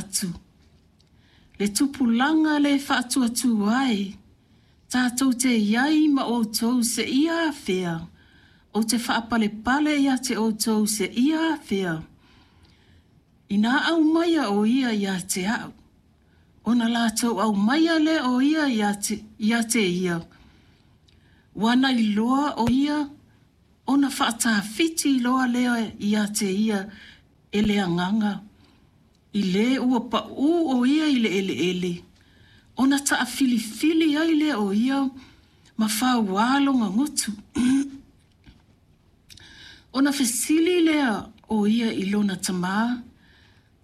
atu, Le tupulaga le faatuatua e, tatou te i ai ma outou seia afea, ou te faapalepale ia te outou seia afea. Inā aumaia o ia ia te a'u, ona latou aumaia lea o ia ia te, ia te ia. Ua na iloa o ia ona faatafiti loa lea ia te ia e le agaga, i lē ua paʻū o ia i le eleele, ona taafilifili ai lea o ia ma fauā lona gutu. Ona fesili lea o ia i lona tamā,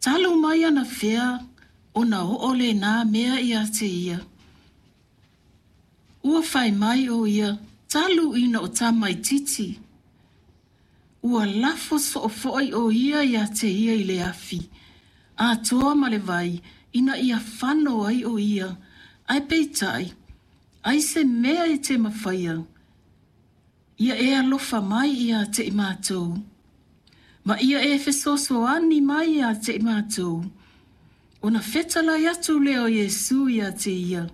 Talu mai anafea ona oo lenā mea ia te ia? Ua fai mai o ia, Talu ina o tamaititi. Ua lafo soo foi o ia ia te ia i le afi, atoa ma le vai, ina ia fano ai o ia, ae peitai, ai se mea e te mafaia, ia e alofa mai ia te i matou, ma ia e fesoasoani mai ia te i matou. Ona fetalai atu lea o Iesu ia te ia,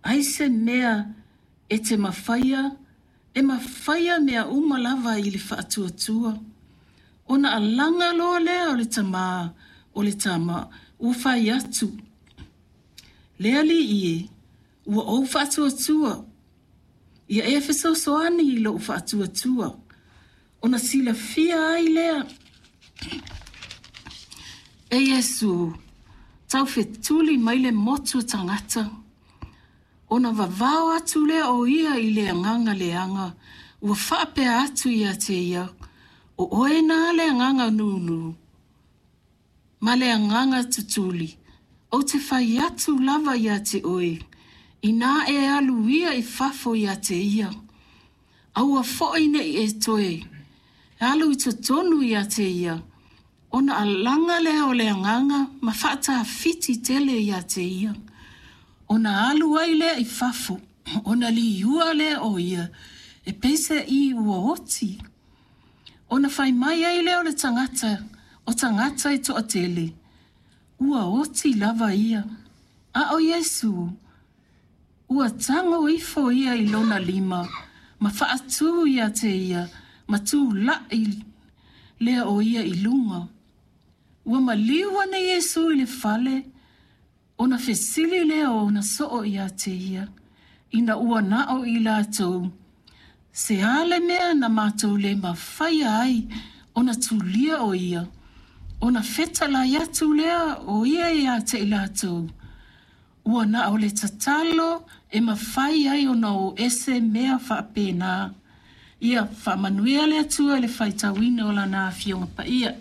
Ai se mea e te mafaia, e mafaia mea uma lava i le faatuatua. Ona alaga loa lea o le tamā o le tama, ua fai atu, Le Alii e, ua ou faatuatua, ia e fesoasoani i lou faatuatua. Ona silafia ai lea e Iesu, taufetuli mai le motu o tagata, ona vavao atu lea o ia i le agaga leaga, ua faapea atu ia te ia, O oe na le agaga nūnū, ma le agaga tutuli, ou te fai atu lava ia te oe, inā e alu ia i fafo ia te ia, aua foi ne i e toe alu i totonu ia te ia, ona alaga lea o le agaga ma faatafiti tele ia te ia, ona alu ai lea i fafo, ona liua lea o ia, e pei se i ua oti. Ona fai mai ai lea o le tagata, o tagata e toatele, ua oti lava ia. A o Iesū, ua tago ifo ia i lona lima, ma faatū ia te ia, ma tulaʻi lea o ia i luga. Ua maliu ane Iesū i le fale, ona fesili lea o ona soo ia te ia, ina ua na o i latou, Se a le mea na matou le mafaia ai ona tulia o ia, ona fetalai atu lea o ia ia te i latou, Ua na o le tatalo e mafai ai ona o ese mea faapena. Ia faamanuia le Atua i le faitauina o Lana Afioga Paia.